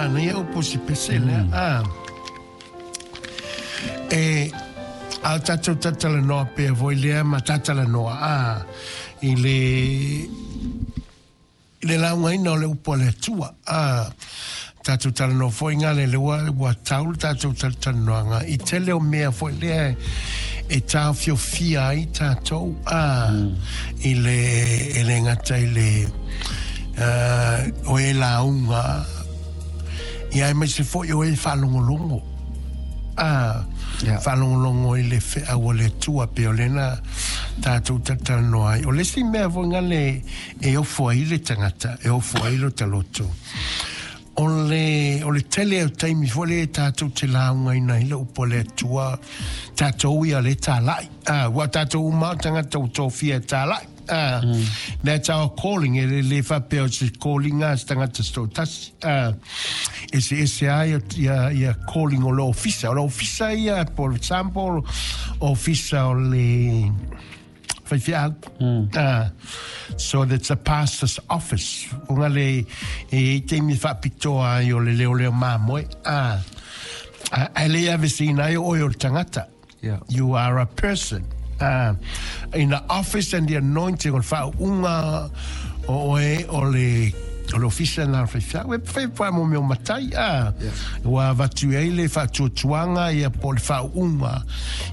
Manaia upu o si pese lea. A. E, a o tatou talatalanoa pea foi lea ma talatalanoa, a, i le, i le laugaina o le upu a le Atua. A, tatou talanoa foi gale le ua, ua tau le tatou talatalanoaga i tele o mea foi lea e taofiofia ai tatou, a, i le, e le gata i le, o e lauga, ia aemaise foi o e faalogologo. A, faalogologo i le feau a le Atua pei o lea na tatou talatalanoa ai. O le isi mea foi gale e ofo ai le tagata, e ofo ai lota loto, o le, o le tele o taimi foi lea tatou te laugaina ai le upu a le Atua, tatou ia le talai. A, ua tatou uma o tagata ua tofia e talai. A, that's our calling. E le, le faapea o se calling a se tagata se toatasi. A, eseese ai ia, ia calling o le ofisa. O le ofisa ia, for example, ofisa o le faifeau. So that's a pastor's office. O ngā le e i taimi faapitoa ai o le leoleo mamoe. A, e le aveseina ai o oe o le tagata. You are a person. In the office and the anointing o le faauuga o oe o le o le ofisa na o le faifeau. E whai whai mo mea o matai. Ua avatu ai le faatuatuaga ia po o le faauuga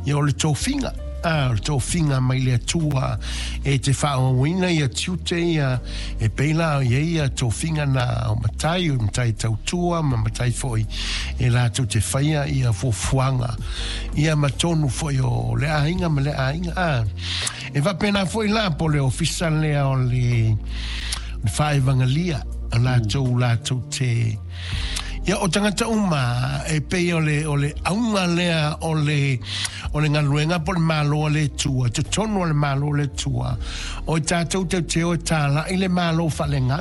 ia o le tofiga. A, o le tofiga mai le Atua e te faaauauina ia tiute ia e pei la ia ia tofiga na o matai, o matai tautua ma matai foi e latou te faia ia fuafuaga ia ma tonu foi o le aiga ma le aiga. A, e faapena foi la po le ofisa lea o le faaevagelia o latou latou te ia o tagata uma e pei o le o le auga lea o le o le galuega po o le Malo a le Atua, totonu o le Malo o le Atua, o i tatou te o e tāla'i le Malo faaleagaga.